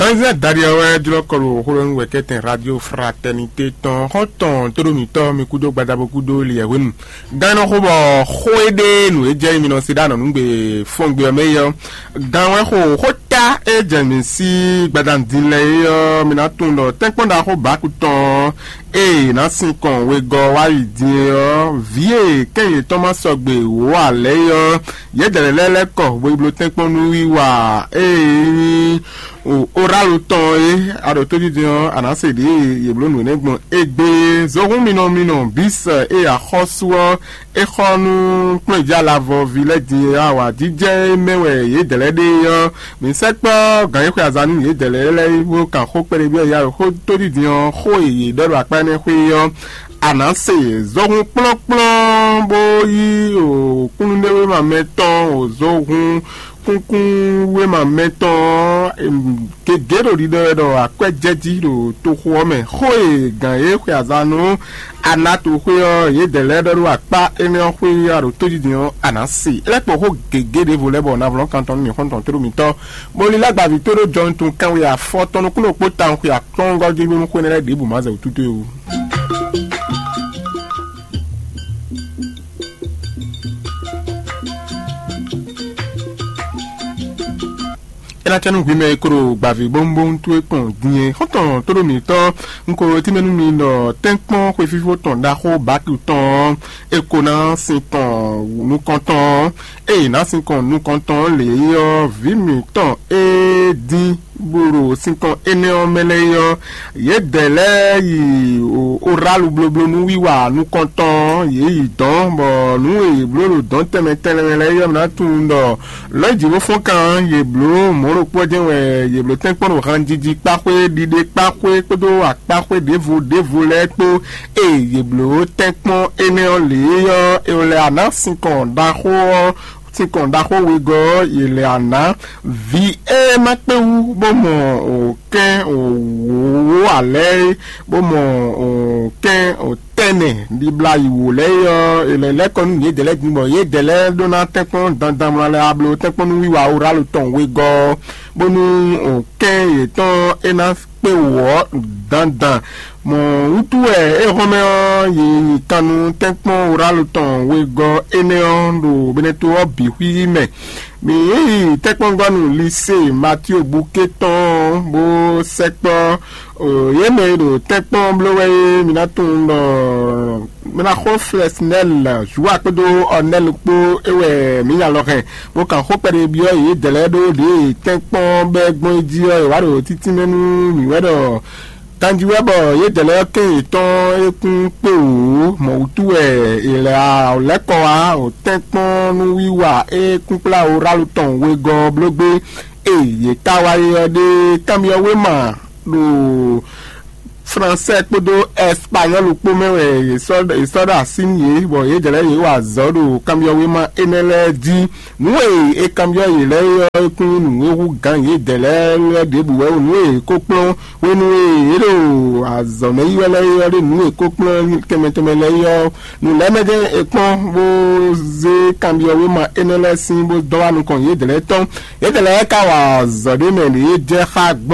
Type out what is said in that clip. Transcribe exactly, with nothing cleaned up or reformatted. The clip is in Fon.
Kanzɛ Dariɔ wɛ jlɔ́ kɔ ɖo xó ɖɔ nú wɛ̌kɛ́tɛn Radio Fraternité tɔn xɔ́ntɔn tóɖó mǐtɔn mi kúdó gbadabo kúdó liɛ hwenu. Gán nɔ xó bɔ xó e ɖe nǔ e jɛ mi nɔ se ɖó anɔ̌nugbe fɔngbe ɔ́ mɛ é ɔ́, gán wɛ xo xó ta e jɛ mǐ sí gbadanu din lɛ́ɛ é ɔ́, mi ná tunwun ɖɔ tɛ́nkpɔ́n ɖaxó bǎku tɔn ɔ́, ée è nǎ sin kɔn wegɔ́ wá yi din é ɔ́, vǐ e kɛ́n yětɔn ma sɔgbe wǒ ǎ lɛ́ɛ é ɔ́, yědɛɛ lɛ́ɛ lɛ́ kɔ hwebló tɛ́nkpɔ́n nú wiwa ée nyí o orálo tɔn é, a ɖo tójijɛ ɔ́, a nǎ se ɖě e yě bló nǔ énɛ́ gbɔn égbé. Zohún minɔ minɔ bǐ sɛ ée axɔ́sú ɔ́ é xɔ nú kplɔ́njǎ lavɔ ví lɛ́ɛ din e awǎjijɛ e mɛ wɛ yědɛɛ lɛ́ɛ ɖe é ɔ́, mǐ sɛkpɔ́ gǎn e xwe azǎn nú yědɛɛ lɛ́ɛ lɛ́ɛ bó kan xó kpɛɖé byɔ́ yá ɖo xó tójijɛ ɔ́, xó e yě ɖɔ ɖo akpá énɛ́ xwé é ɔ́, a nǎ se zɔhun kplɔ́nkplɔ́n bó yí o kúnnuɖéwéma mɛtɔn o zɔhun kúnkún wéma mɛtɔn ɔ́, em, gěgé ɖo ɖiɖɔ wɛ ɖɔ akwɛ́ jɛ jí ɖo toxo ɔ́ mɛ. Xó e gǎn e xwe azan nú Anatoxwé ɔ́, yědɛɛ lɛ́ɛ ɖɔ ɖó akpá énɛ́ ɔ́ xwé ɔ́ ɖo tójijɛ ɔ́, a nǎ se. É lɛ́ kpɔ́n xó gěgé ɖěvo lɛ́ɛ bɔ navlɔ́ kantɔn nú mǐ xɔ́ntɔn tóɖó mitɔ́, bó lílá gbaví tóɖó jɔnutun kanwe afɔtɔn nukúnnú kpó tawun xwe akplɔ́ngɔ́ jí bónú xwénɛ́ lɛ́ɛ ɖěbǔ ma zɛ wǔ tútú é wú. É ná cɛ nú hwi mɛ e ko ɖo gbǎví bóŋbóŋ towe kpɔn din é. Xɔ́ntɔn tóɖó mǐtɔn, un ko tínmɛ nú mi ɖɔ tɛ́nkpɔ́n xwefífó tɔn ɖaxó Baki tɔn ɔ́, é ko ná sin tɔn nukɔntɔn ɔ́, ée è nǎ sin kɔn nukɔntɔn ɔ́ lě é ɔ́, vǐ mǐtɔn e dín bó ɖo sinkɔn énɛ́ ɔ́ mɛ lɛ́ɛ é ɔ́, yědɛɛ lɛ́ɛ yi orálu blóbló nú wiwa nukɔntɔn ɔ́, yě yi dɔ̌n, bɔ nǔ e yě bló ɖo dɔ̌n tɛnmɛ tɛnmɛ lɛ́ɛ é ɔ́, mǐ ná tunwun ɖɔ lɔ̌ jǐ bó fɔ́n kan ɔ́, yě bló mɔ̌ ɖokpó ɔ́ jɛ́n wɛ yě bló tɛ́nkpɔ́n ɖo hanjiji kpáxwé, ɖiɖe kpáxwé kpódó akpáxwé ɖěvo ɖěvo lɛ́ɛ kpó. Ée yě bló tɛ́nkpɔ́n énɛ́ ɔ́ lě é ɔ́, è lɛ a nǎ sinkɔn ɖaxó ɔ́, sinkɔn ɖaxó wegɔ́ ɔ́, yě lɛ a nǎ vǐ e ma kpé wú bó mɔ kɛ́n wǒ alɛ́ é, bó mɔ kɛ́n tɛ́nɛ ɖibla yi wǒ lɛ́ɛ é ɔ́, è lɛ lɛ́ kɔ nú yědɛɛ lɛ́ɛ din bɔ yědɛɛ lɛ́ɛ ɖó ná tɛ́nkpɔ́n dandan mlɔ lɛ́ɛ a bló tɛ́nkpɔ́n nú wiwa orálu tɔn wegɔ́ ɔ́, bónú kɛ́n yětɔn é ná kpé wǒ ɔ́ dandan. Mɔ̌ wútu wɛ éhɔ́nmɛ ɔ́, yě yi kan nú tɛ́nkpɔ́n wuralo tɔn wegɔ́ énɛ́ ɔ́ ɖo Beneto ɔ́ bǐ xwíxwí mɛ. Mǐ yi tɛ́nkpɔ́ngɔ́nu Lisée Matío Buké tɔn ɔ́, bó sɛkpɔ́ yě mɛ e ɖo tɛ́nkpɔ́n bló wɛ é, mi ná tunwun ɖɔ Mɛnaxó Flɛsinɛ́li, Zuwa kpódó Ɔnɛ́li kpó é wɛ mǐ nya lɔ hɛn, bó kan xó kpɛɖé byɔ́ yědɛɛ lɛ́ɛ ɖó ɖě e tɛ́nkpɔ́n bɛ́ gbɔn é jí ɔ́, è wǎ ɖo títínmɛ nú mǐ wɛ ɖɔ kanjí wɛ bɔ yědɛɛ lɛ́ɛ kɛ́n yětɔn é kún kpé wǔ, mɔ̌ wútu wɛ è lɛ lɛ́ kɔ wá o tɛ́nkpɔ́n nú wiwa e kún kplá orálu tɔn wegɔ́ ɔ́ bló gbé. E yě ka wá é ɔ́ ɖe kanbyɔ́ wéma ɖo Fransɛ kpódó Ɛspanyɔ́lu kpó mɛ wɛ yě sɔ́ yě sɔ́ ɖo así nú yě, bɔ yědɛɛ lɛ́ɛ yě wa azɔ̌ ɖo kanbyɔ́wéma énɛ́ lɛ́ɛ jí. Nǔ e è kanbyɔ́ yě lɛ́ɛ é ɔ́, é kún nyí nǔ e hú gǎn yědɛɛ lɛ́ɛ lɛ́ɛ ɖěbǔ wɛ o. Nǔ e è ko kplɔ́n hwenu e yě ɖo azɔ̌ mɛ yi wɛ lɛ́ɛ é ɔ́ ɖe nǔ e è ko kplɔ́n tɛnmɛ tɛnmɛ lɛ́ɛ é ɔ́, nǔ lɛ́ɛ mɛ jɛ́n è kpɔ́n bó zé kanbyɔ́wéma énɛ́ lɛ́ɛ sín bó dɔ́ wá nukɔn yědɛɛ lɛ́ɛ tɔn. Yědɛɛ lɛ́ɛ ka wa azɔ̌ ɖé mɛ ɖě jɛ xá gbɔn